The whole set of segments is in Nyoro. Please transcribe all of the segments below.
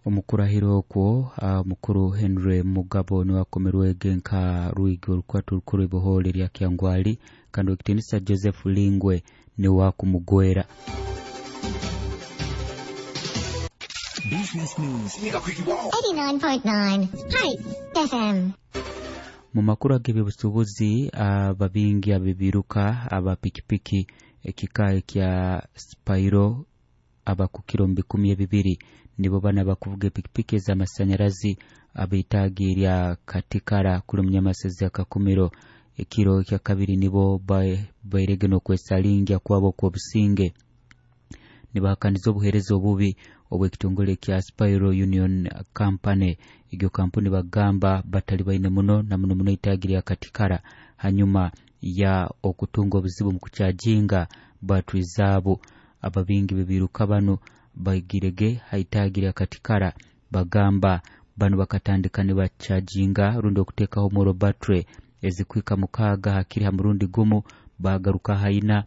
Omukurahira okwo, mukuru Henry Mugabo niwe akomerwege nka Rwigi orukwata orukuru ibohole lya Kyangwali, kandi owekitinisa Joseph Lingwe niwe akumugwera. Business News. 89.9 Spice FM. Mu makuru ag'ebyobusuubuzi, ababingi abebiruka aba pikipiki ekika ekya Spiro abakukira omu 2,000 nibo bana bakuvuga epikipiki ez'amasanyarazi abeitaagi erya Katikara kuli omunyamasezi Akakumiro ekiro ekya kabiri nibo bairege n'okwesalingya kwabo okw'obusinge nibahakaniza obuheereza obubi obw'ekitongole kya Spiro Union Company. Egyo kampuni bagamba batali baine muno na muno muno itaagi lya Katikara hanyuma ya okutunga obuzibu mu kukyajinga batri zaabo. Ababingi bebiruka bano baigirege haitaagi lya Katikara bagamba bano bakatandika nibakyajinga rundi okuteekaho omuro battery ezikwika 6 hakiri ha murundi gumu, bagaruka haina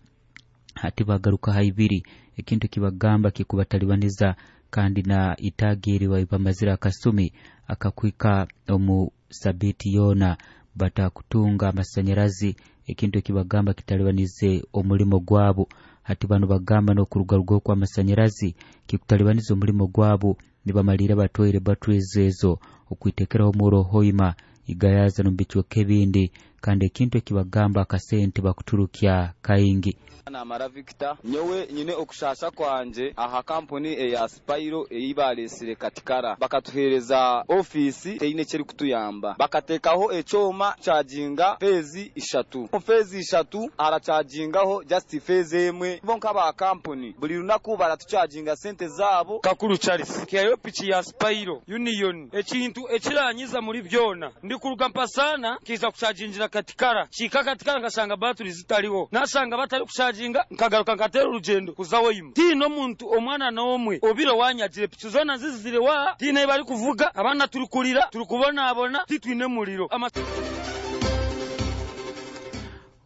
hati bagaruka ha 2, ekintu kibagamba kikubatalibaniza kandi na itaagi eri bamazire akasumi akakwika omu sabiti yoona batakutunga amasanyarazi, ekintu ekibagamba kitalibanize omulimo gwabo. Hati bano bagamba n'okurugaruga okw'amasanyarazi kikutalibaniza omulimo gwabo, nibamalira batwaire batteries ezo okwitekeraho omuro hoima igayaza n'omu bicweka ebindi, kandi ekintu ekibagamba akasente bakuturukya kaingi. Namara Victor, nyowe nyine okushasha kwanje aha kampuni eya Spiro eyi balesire Katikara. Bakatuhereza ofisi teine kyeri kutuyamba, bakatekaho ekyoma charginga phase 3, phase 3 arachargingaho just phase emwe. Bo nk'aba kampuni buli lunaku baratucharginga sente zabo. Kakuru Charles kiyayo piki ya Spiro Union, ekintu ekiranyiza muri byona ndikuruga mpasana kiza kuchargingira Katikara, kika Katikara nkashanga battery zitariho, nasanga batari kucharginga nkagaruka nkatera urugendo kuza weyima. Tino muntu omwana n'omwe obiro wanyagire piki zona zizire wa tine bari kuvuga, abana turi kurira turi kubonabona titwine muriro.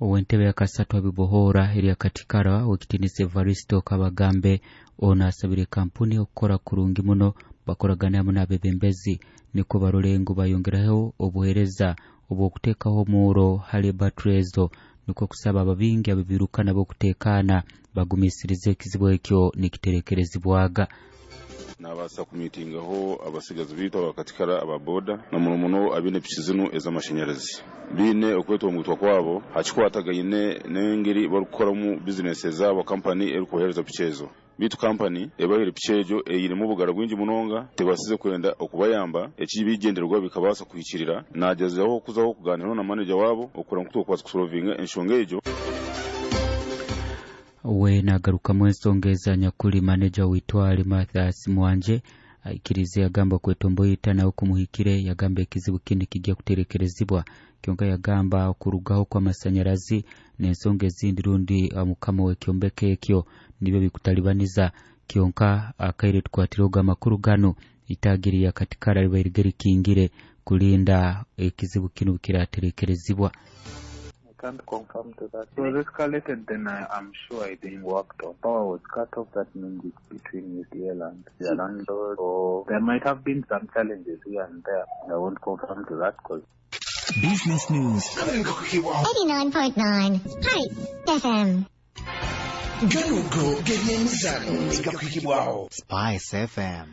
Owentebe ya kasatu abibohora eri Katikara wekitinisa Evaristo Kabagambe ono asabire kampuni okukora kurungi muno bakoragana hamwe n'abebembezi niko barole ngu bayongeraho obuheereza obw'okuteekaho omuuro hali battery ezo, nikwo kusaba ababingi abebiruka nabo okuteekaana bagumisirize ekizibu ekyo nikiterekerezibwaga. Nabasa kumitingaho abasigazi bitu abakatikara ababoda na muno muno abine piki zinu ez'amashanyarazi biine okwetongutwa kwabo hakikwatagaine n'engeri barikukoramu bizinesi zaabo kampani erikubahereza piki ezo. Bitu kampani ebahire piki egyo eyirimu obugara bwingi munonga tebasize kwenda okubayamba ekibigendererwa bikabasa kuhikirira. Nagezaho kuzaho kuganira na manager wabo okura nku tukwasa kusolvinga enshonga egyo. We nagarukamu ensonga eza nyakuli manager witwale Mathias Mwanje aikirize yagamba kwetomboyita nawe kumuhikire, yagamba ekizibu kindi kijja kuterekerezibwa. Kyonka yagamba okurugaho kw'amasanyarazi n'ensonga ezindi rundi mukama w'ekyombeko ekyo nibyo bikutalibaniza. Kyonka akaire tukwatireho amakuru gano itagiri ya Katikara libaire rikingire kulinda ekizibu kino kiraterekerezibwa. I can't confirm to that. It was escalated, then I'm sure it being worked on. Power was cut off, that means it's between UCL and the landlord, or there might have been some challenges here and there. I won't confirm to that because Business News. 89.9 Spice FM. Ganugo g'ebyemizano gakwikibwaho Spice FM.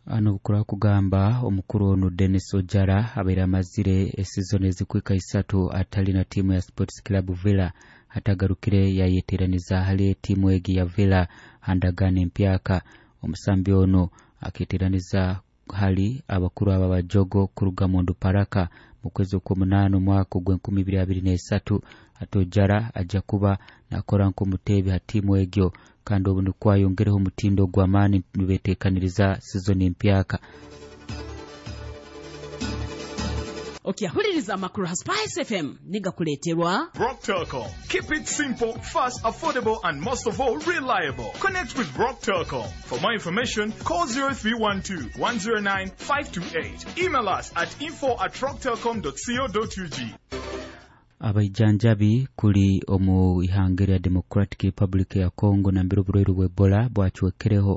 Ano bukura kugamba omukuru ono Dennis Ojara abaire amazire esizoni ezikwika 3 atali na timu ya Sports Club Villa atagarukire yayeteraniza hali timu egi ya Villa handagane empyaka. Omusambi ono aketeraniza hali abakuru aba bajogo kuruga mundu paraka mu kwezi okw'omunaana omwaka ogw'enkumi ibiri abiri n'esatu. Ate Ojara ajja kuba nakora nk'omuteebi ha timu egyo kandi obu nikwo ayongereho omutindo gw'amaani nibeteekaniriza sizoni empyaka. Okyahuliriza amakuru ha Spice FM nigakuleeterwa Rock Telcom. Keep it simple, fast, affordable, and most of all, reliable. Connect with Rock Telcom. For more information, call 0312 109 528. Email us at info@rocktelcom.co.ug. Abaijanjabi kuli omu ihanga lya Democratic Republic ya Congo nambere oburwaire bwa Ebola bwacwekereho